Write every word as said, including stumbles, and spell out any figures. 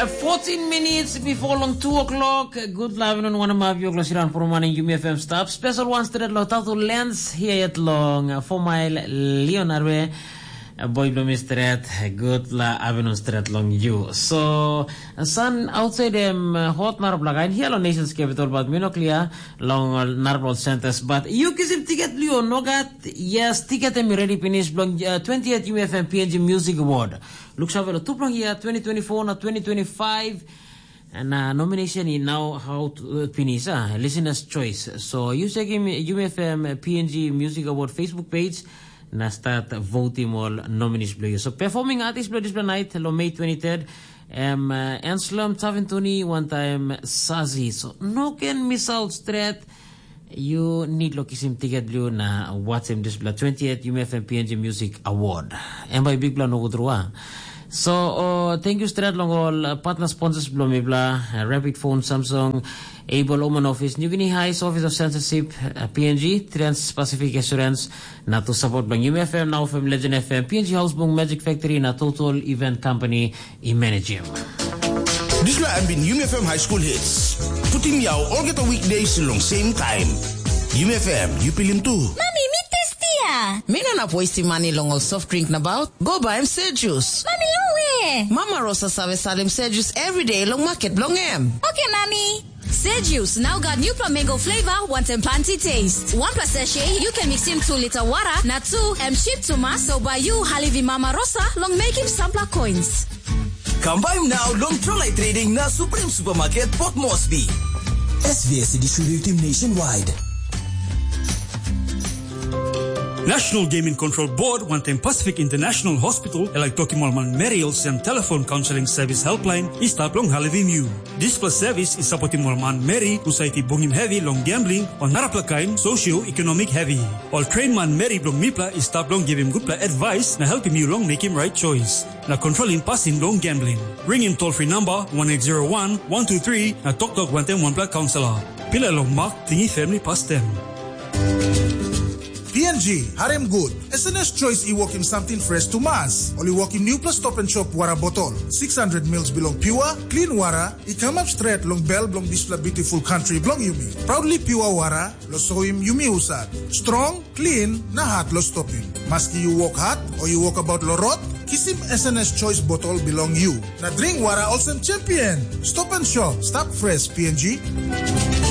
Fourteen minutes before long two o'clock. Good luck on one of your glossiran for morning. Yumi F M stop. Special one straight lo Tatu Lens here at long uh, four mile Leonarwe. Uh, boy blumi straight. Good la avenue straight long you. So uh, sun outside them uh, hot narap laga in here long nation's capital, but me no clear long uh, narap centers. But you kiss him ticket, Leo. No got yes ticket and me ready finish long uh, twentieth U F M P N G Music Award. Looks over the two long year twenty twenty-four na twenty twenty-five. And uh, nomination in now how to uh, finish uh, listener's choice. So you check him U F M P N G Music Award Facebook page. Na start voting all nominees blue. So performing artist blue display night lo May twenty-third. Um, uh, Anselm Tavintuni one time Sazi. So no can miss out straight. You need lo kisim ticket blue na watch him display twentieth U F M P N G Music Award. And by big plan over through. So, uh, thank you straight long all uh, partner sponsors blong me bla, uh, Rapid Phone, Samsung, Able Oman Office, New Guinea Highs Office of Censorship, uh, P N G, Trans Pacific Assurance, na to support blong U F M, now F M Legend F M, P N G House Bung Magic Factory, na Total Event Company, i manage him. Dispela em bin Yumi F M High School Hits. Putim yau olgeta weekdays long same time. Yumi F M, you pilim tu. Mami, mi testia. Mi no nap wastim mani long ol soft drink nabaut. Go baim se jus. Mami, lowe. Mama Rosa save salim se jus everyday long market blong em. Okay, Mami. Sejius now got new flamingo flavor, wanting planty taste. One plus sachet, you can mix in two liter water, na two M ship to mass, so by you, Halivi Mama Rosa, long making sampler coins. Kam bai now long Trolai Trading na Supreme Supermarket Port Moresby. S V S distributing nationwide. National Gaming Control Board wanting Pacific International Hospital, like Tokimol Man Meriel, Sam Telephone Counseling Service Helpline, is tap long Halivi Mu. Dispela service i sapotim ol manmeri husat i bungim hevi long gambling o narapela kain socio-economic heavy. Ol train manmeri bilong mipela i stap long givim gutpela advice na helpim yu long mekim right choice na controlling pasin long gambling. Ringim toll-free number one eight zero one, one two three na toktok wantaim wanpela counselor. Pilai long mak, tingi family pastem. P N G, harim gut. S N S Choice i wokim samting fresh tumas. Ol i wokim newpela Stop and Shop wara botol, six hundred mils bilong pure, clean wara, i kamap stret long bel bilong dispela beautiful country bilong yumi. Proudly pure wara, lo soim yumi husat. Strong, clean, na hat lo stopim. Maski yu wok hat o yu wokabaut lo rot, kisim S N S Choice botol bilong yu. Na dring wara olsem champion. Stop and Shop, stap fresh P N G.